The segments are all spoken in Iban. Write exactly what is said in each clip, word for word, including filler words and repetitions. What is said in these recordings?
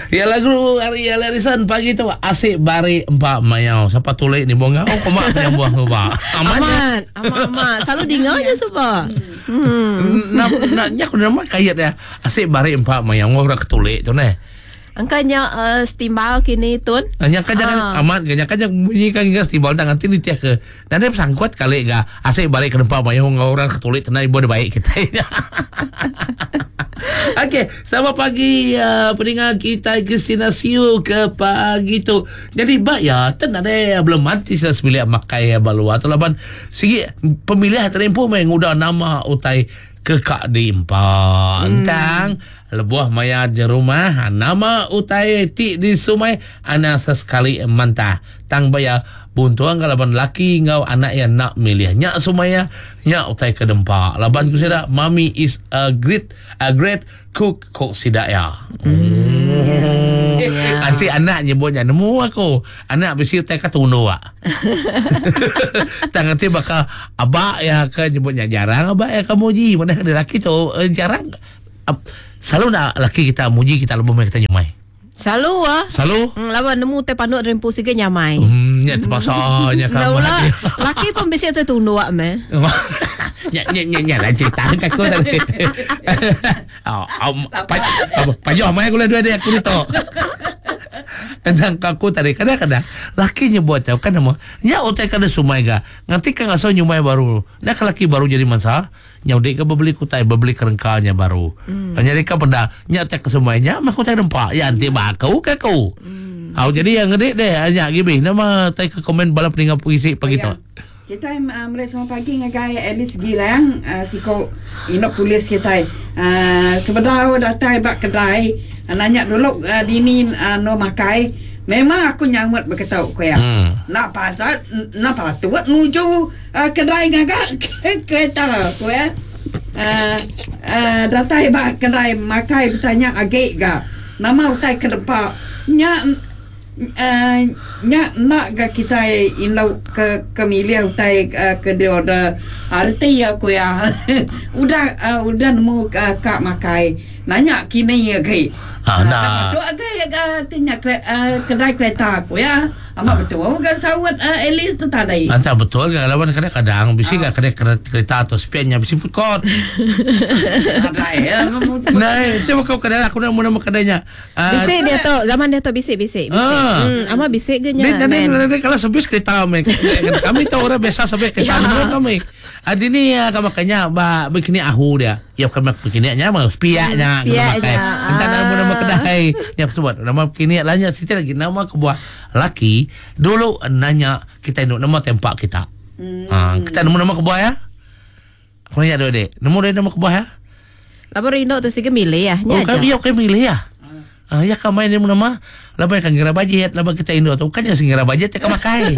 Ya lagu hari Harrison pagi tu asik bari empat mayau. Siapa tulik ni buang ngau komak penyambuang tu ba. Amat. Amat, amat, amat. Selalu dengar je sebab. Hmm. Nak nak nyak nama kayat dia. Asik bari empat mayau orang ketulik tu neh. Angkanya uh, setimbal kini tun. Hanya kan jangan ah. Amat kan kan bunyi kan hingga setimbal tangan nanti ditiak ke. Dan dia sangkut kali ga asik balik ke tempat mayau orang ketulik tenang ibu ada baik kita. Okey, selamat pagi uh, pendengar kita Christina Siu ke pagi tu. Jadi bak ya, ten ada belum mati sudah sebilik makai balua atau laban sigi pemilihan terempu main ngudah nama utai kekak di empat. Hmm. Entang lebuah maya di rumah nama utai ti di sumai anak sesekali mantah. Tang baya buntuang laban laki ngau anak yang nak milih nyak sumaya nyak utai ke dempak. Laban ku sida mami is a great a great cook kok sida ya. Hmm. Yeah. Nanti anak nyebutnya nemu aku. Anak bisi utai ka tunu ah. Tang nanti bakal abak ya ke nyebutnya jarang abak ya kamu ji mana ada laki tu eh, jarang. Selalu nak laki kita muji kita lebih kita nyumai. Selalu ah. Selalu. Hmm, lawan nemu teh panduk rempu sige nyamai. Hmm, nya terpaksa nya kamu. Laki pun bisi tu tunduk meh. Nya nya nya nya lah cerita aku tadi. Oh, pajoh mai aku lah dua dia aku tu. Tentang aku tadi kadang-kadang laki nyebut tau kan nama nya utai kada sumai ga. Nanti kan asal nyumai baru. Nak laki baru jadi mangsa, nya udik ke beli kutai, beli kerengkanya baru. Hmm. Jadi ka penda nya tak ke sumainya mah kutai rempak. Ya nanti bakau ke aku. Hmm. Au jadi yang gede deh nya gibi nama tai ke komen bala peninggal puisi pagi tu. Kita uh, mulai selamat pagi ngagai Alice Gilang uh, siko inok polis kita. Uh, sebenarnya datai bak kedai uh, nanya dulu uh, dini uh, no makai. Memang aku nyamut berketau ku ya. Hmm. Nak pasal nak patut nuju uh, kedai ngagak kereta ku ya. Uh, uh, datai bak kedai makai bertanya agak ga. Nama utai ke depan nya Uh, nya nak ga kita inau ke ke milih utai uh, ke dia order arti aku ya. Udah uh, udah nemu uh, kak makai nanya kini ya ke. Ah nah. Tu agak uh, tinya uh, kedai kereta aku ya. Amat betul ga sawat uh, Alice tu tadi. Antara betul ga lawan kadang-kadang bisi ga kedai kereta atau spiannya bisi food court. Ada ya. Nah, itu kau kedai aku nak nama kedainya. Bisi dia tu zaman dia tu bisi bisi bisi. Hmm, ama bisik ge nya. Nen nen kalau sebis kereta kami. Kami tu orang biasa sebis kereta ya. Kami. Adi ni kami makanya ba begini ahu dia. Ya kami begini nya mah spiaknya makai. Entah nama nama kedai. Ya sebut nama begini lanya siti lagi nama kebuah laki dulu nanya kita induk nama tempat kita. Hmm. Ha, kita nemu nama kebuah ya. Aku nanya dulu dek. Nemu dia nama kebuah ya? Labar induk tu sige milih ya. Nya. Oh, iya kami milih ya. Ah, ya kami ni nama laban kan ngira bajet laban kita indo tu kan yang ngira bajet tak makai.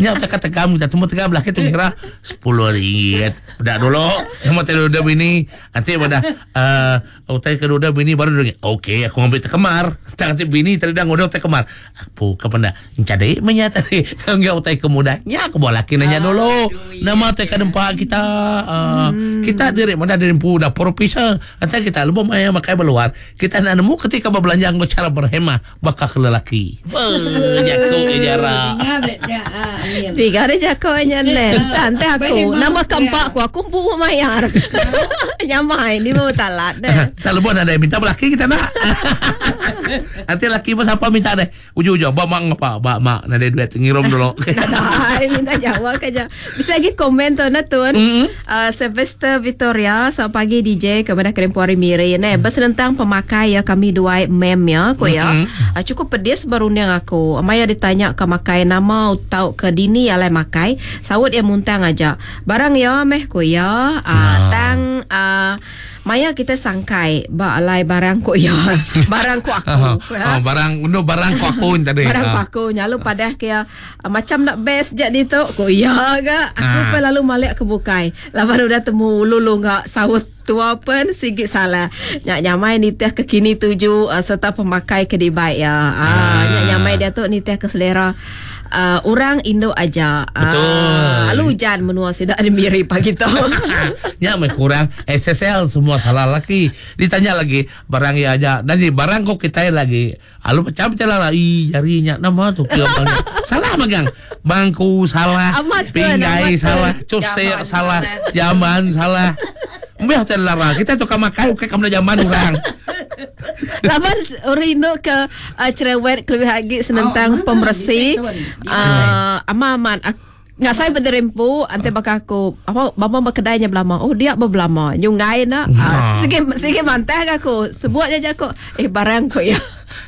Nya tak kata kamu kita temu tegam lah kita ngira sepuluh ringgit. Udah dulu nama teh udah bini nanti pada eh utai ke udah bini baru dia okey aku ngambil tekemar. Tak nanti bini tadi dah ngodo tekemar. Aku ke penda encade menya tadi enggak utai ke muda. Nya aku bawa laki nanya dulu. Nama teh ke dempak kita uh, hmm. Kita diri mana dari empu dapur pisah. Nanti kita lupa maya makai beluar. Kita nak nemu ketika berbelanja nggo cara berhemah bakal ke lelaki. Jago jarang. Tiga ada jago nya len. Tante aku nama keempat aku aku pun mayar. Nyamai ni mau talat deh. Tak lebih ada minta lelaki kita nak. Nanti laki pun siapa minta deh. Ujung-ujung bak mak ngapa? Bak mak nak ada duit ngirum dulu. Nah, minta jawab aja. Bisa lagi komen tu na tuan. Mm-hmm. Uh, Sylvester Victoria selamat pagi D J kepada Kerempuari Miri. Nah, bersenentang pemakai ya kami dua mem ya aku ya. Mm-hmm. Uh, cukup pedis berunding aku. Maya ditanya ke makai nama atau ke dini alai makai. Sawut ya muntang aja. Barang ya meh ku ya. Uh, nah. Tang uh, Maya kita sangkai ba alai barang ku ya. Barang ku aku. Ya. Oh, barang no barang ku aku tadi. Barang ku aku nyalu padah ke uh, macam nak best je di tu ku ya ga. Aku ah. pun lalu malik ke bukai. Laban udah temu lulu ngak sawut tua pun sikit salah. Nyak nyamai nitih ke kini tuju uh, serta pemakai ke dibaik ya. Ah, ah. Nyak nyamai dia tu nitih ke selera. uh, orang Indo aja. Betul. Uh, lalu hujan menua sida ada miri pagi tu. Nya meh kurang S S L semua salah laki. Ditanya lagi barang ya aja. Dan di barang kok kita lagi. Alu macam macam lah. Ih jarinya nama tu ke salah magang. Bangku salah, amat pinggai amat salah, custe salah, jamban salah. Mbah hotel lara kita tukar makan ukai kamu jamban orang. Laban orang Indo ke uh, cerewet lebih lagi senentang oh, pembersih. Uh, aman-aman. Nggak saya berderempu, ante bakal aku apa bapa berkedainya belama. Oh dia berbelama. Nyungai nak. Uh, sige sige mantah aku. Sebut aja aku. Eh barang ko ya.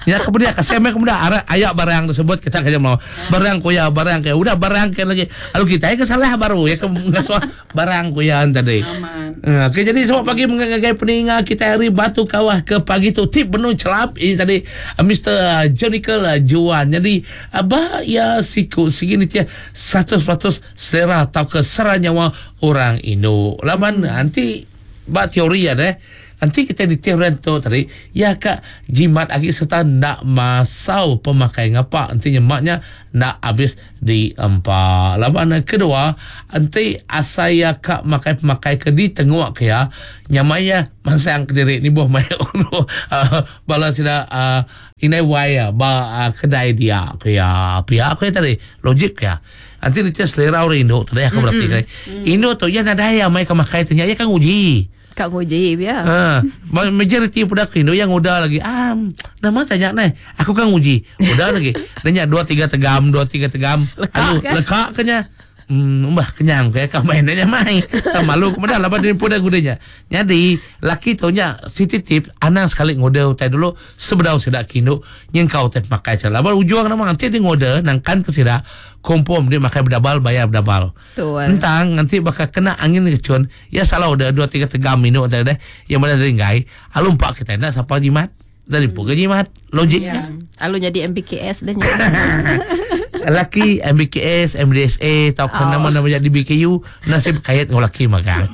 Ya kemudian kasih mek kemudian arah ayak barang tersebut kita kerja mau barang kuya barang kayak udah barang kayak lagi. Lalu kita ya kesalah baru ya ke ngesoh barang kuyaan tadi. Aman. Uh, Okey jadi semua pagi mengagai peninga kita hari Batu Kawah ke pagi tu tip penuh celap ini tadi uh, Mister Jonical uh, Juan. Jadi abah ya siku segini tia seratus peratus selera atau ke sera nyawa orang Indo. Laman nanti bak teori ya deh. Nanti kita di teori tu tadi ya kak jimat lagi serta nak masau pemakai ngapa nanti nyemaknya nak habis di empat. Laban kedua nanti asaya kak makai pemakai ke di tenguak ke ya nyamaya masang ke diri ni buah mai ono uh, bala sida uh, inai waya ba uh, kedai dia ke ya pihak ke tadi logik ya. Nanti dia selera orang Indo tadi aku berarti mm-hmm. kan. Indo tu ya nadai mai ke makai tanya ya kan uji. Kak nguji ya. Ha, majoriti budak Indo yang udah lagi. Ah, nama tanya neh. Aku kan nguji. Udah lagi. Nanya dua tiga tegam, dua tiga tegam. Lekak Aduh, kan? lekak kenya. Hmm, mbah kenyang kayak kau mainnya mai. Tak malu kemudian laban dia pun dah gunanya. Jadi laki tu nya si titip anang sekali ngode utai dulu sebedau sedak kindu nyengkau teh makai cara. Laban ujuang nama nanti dia ngode nangkan ke sida kompom dia makai berdabal bayar berdabal. Betul. Entang nanti bakal kena angin kecun. Ya salah udah dua tiga tegam minum tadi deh. Yang mana dari ngai. Alum pak kita nak siapa jimat. Dari pun ke jimat. Logiknya. Ya. Alu jadi M B K S dah. Laki M B K S, M D S A, atau oh. nama-nama jadi B K U, nasib kait dengan laki magang.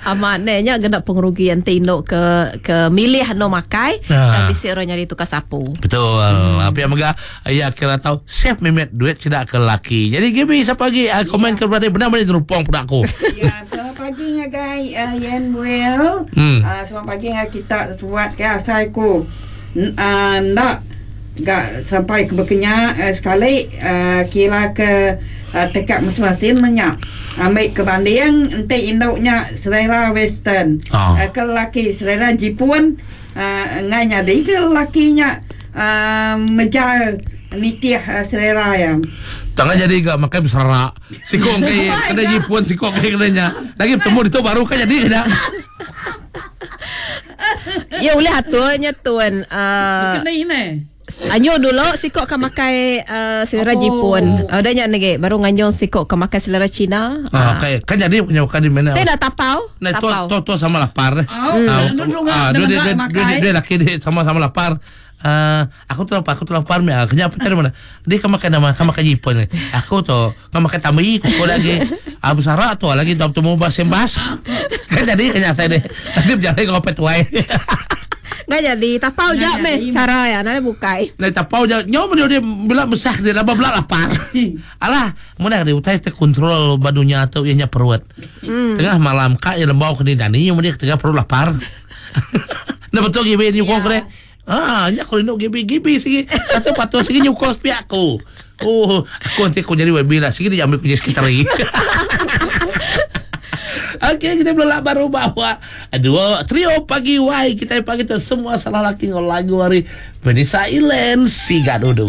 Amat nenya genap pengerugian tinduk ke ke milih no makai nah. Dan bisa orang nyari tukar sapu. Betul. Hmm. Apa yang megah ya kira tahu save memet duit tidak ke laki. Jadi Gibi siapa lagi uh, komen ke berada benar-benar terupong pada aku. Ya, selamat pagi ngagai uh, Yen Well. Hmm. Uh, selamat pagi ngagai kita buat ke asaiku. Uh, nak gak sampai ke berkenyak uh, sekali uh, kira ke uh, tekak masing-masing menyak ambil ke banding ente induknya selera western oh. uh, ke lelaki selera Jepun uh, ngai nyadi ke lelakinya uh, meja nitih uh, selera yang tangan jadi gak makai berserak sikong ke kena Jepun sikong ke kenanya lagi bertemu itu baru kan jadi kena. Ya boleh aturnya tuan uh, kena ini Anyo dulu sikok ke makai uh, selera oh. Jepun. Uh, dah nyak negi baru nganjung sikok ke makai selera Cina. Ah, okay. Kan jadi punya bukan di mana. Teh dah tapau. Nah, tu tu tu sama lapar. Oh, Ah, hmm. dia dia dia dia laki dia sama-sama lapar. Uh, aku tu lapar, aku tu lapar mi. Kerja apa cari mana? Dia kan makan nama, kan makan Jepun ni. Aku tu kan makan tamai, kuku lagi. Ah besara tu lagi tu temu bas sembas. Kan jadi kenyang saya ni. Nanti berjalan ngopet tuai. Nggak jadi tapau je meh cara ya nada bukai. Nah tapau je nyawa dia dia bila besar dia laba belak lapar. Alah, mana dia utai terkontrol badunya atau ianya perut. Hmm. Tengah malam kak yang lembau kena dani yang dia tengah perut lapar. Nah betul gibi ni kau kena. Ah, nya aku rindu gibi gibi sigi. Satu patu sigi nyukos pihak aku. Oh, aku nanti aku jadi webi lah. Sigi dia ambil kunci sekitar lagi. Okey, kita belak baru bawa dua trio pagi wai kita pagi tu semua salah laki ngol lagu hari Vanessa Ilen Siga Dudu.